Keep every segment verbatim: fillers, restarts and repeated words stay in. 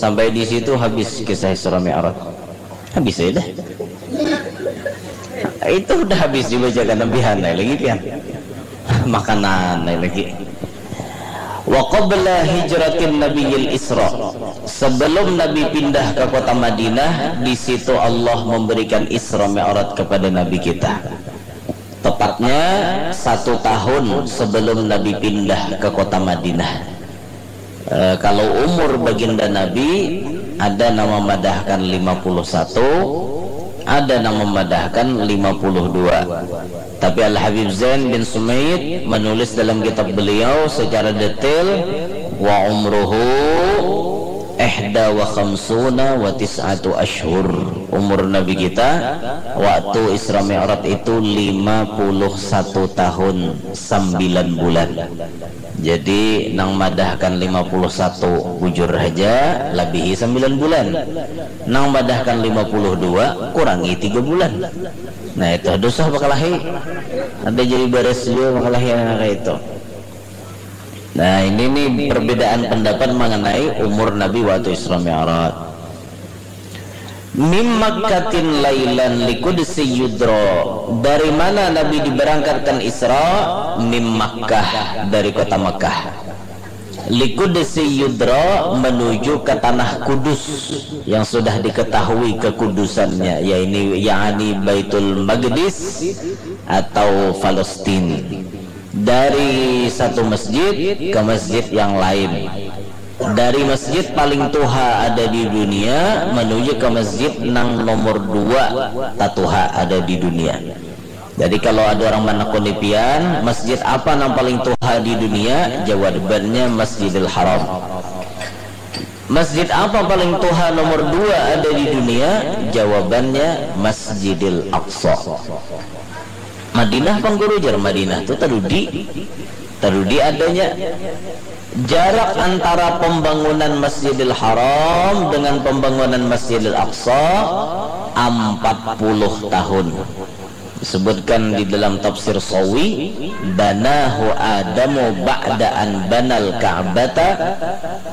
Sampai di situ habis kisah Isra Mi'raj. Habis aja dah. Itu udah habis dibacakan, lebih aneh lagi pian. Makanan lagi. Wa qabla hijratin nabiyil Isra, sebelum Nabi pindah ke kota Madinah, di situ Allah memberikan Isra Mi'raj kepada Nabi kita. Tepatnya satu tahun sebelum Nabi pindah ke kota Madinah. Eh, kalau umur baginda Nabi, ada nama madahkan lima puluh satu, ada nama madahkan lima puluh dua. Tapi Al-Habib Zain bin Sumaid menulis dalam kitab beliau secara detail, wa umruhu ihda wa khamsuna wa tis'atu ashhur. Umur Nabi kita waktu Isra Mi'raj itu lima puluh satu tahun sembilan bulan. Jadi nang madahkan lima puluh satu bujur haja, labihi sembilan bulan. Nang madahkan lima puluh dua, kurangi tiga bulan. Nah, itu dosa bakalahi. Ada jadi baras juga bakalahi anak itu. Nah, ini nih perbedaan pendapat mengenai umur Nabi waktu Isra Mi'raj. Mim Makkatin lailan likudsi yudro. Dari mana Nabi diberangkatkan Isra? Mim Makkah, dari kota Makkah. Likudsi yudro, menuju ke tanah kudus yang sudah diketahui kekudusannya, yaitu yakni Baitul Maqdis atau Palestina. Dari satu masjid ke masjid yang lain. Dari masjid paling tuha ada di dunia menuju ke masjid nang nomor dua tatuha ada di dunia. Jadi kalau ada orang manakuni pian, masjid apa nang paling tuha di dunia? Jawabannya Masjidil Haram. Masjid apa paling tuha nomor dua ada di dunia? Jawabannya Masjidil Aqsa. Madinah pang guru, jar Madinah tu tadudi, tadudi adanya. Jarak antara pembangunan Masjidil Haram dengan pembangunan Masjidil Aqsa empat puluh tahun. Disebutkan di dalam tafsir Sawi, banahu Adamu ba'da an banal Ka'bata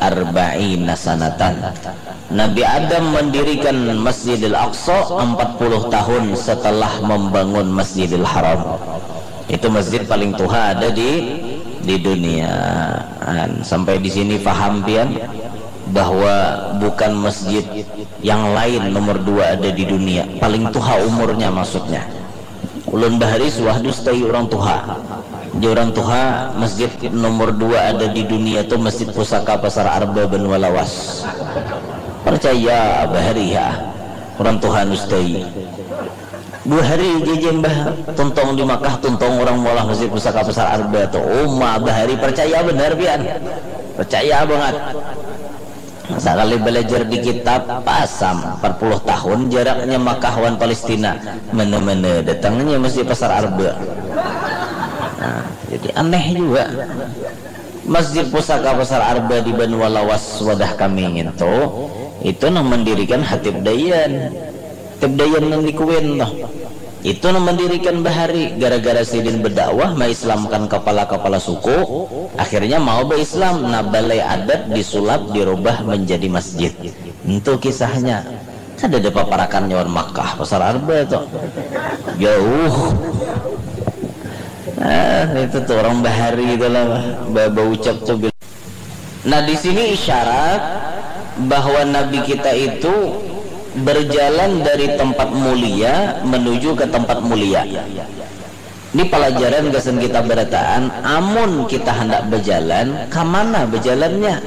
arba'ina sanatan. Nabi Adam mendirikan Masjidil Aqsa empat puluh tahun setelah membangun Masjidil Haram. Itu masjid paling tuha ada di di dunia. Sampai di sini paham pian bahwa bukan masjid yang lain nomor dua ada di dunia, paling tuha umurnya maksudnya. Ulun bahari suah dustai orang tuha. Di orang tuha, masjid nomor dua ada di dunia tu Masjid Pusaka Pasar Arba Banua Lawas. Percaya bahari ya, orang tuha nustai. Dua hari jajam bah tuntong di Makkah, tuntong orang maulah Masjid Pusaka Pasar Arba tu. Uma bahari percaya benar pian. Percaya banget. Sakali belajar di kitab, pasam, empat puluh tahun jaraknya Makkah wan Palestina. Mana-mana datangnya Masjid Pasar Arba. Nah, jadi aneh juga. Masjid Pusaka Pasar Arba di Banua Lawas wadah kami ngintu, itu nang mendirikan Hatib Dayan. Hatib Dayan nang di Kuwin tuh. Itu nang mendirikan bahari, gara-gara sidin berdakwah, maislamkan kepala-kepala suku, akhirnya mau berislam. Nah, balai adat disulap, dirubah menjadi masjid. Itu kisahnya. Kada ada paparakannya wan Makkah, Pasar Arba tu. Jauh. Ah, itu tuh orang bahari itu lah, ba- baucap tuh. Nah, di sini isyarat bahwa Nabi kita itu berjalan dari tempat mulia menuju ke tempat mulia. Ini pelajaran gasan kita berataan, amun kita hendak berjalan, ke mana berjalannya?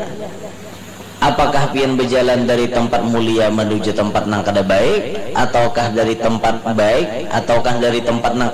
Apakah pian berjalan dari tempat mulia menuju tempat nang kada baik, ataukah dari tempat baik, ataukah dari tempat nang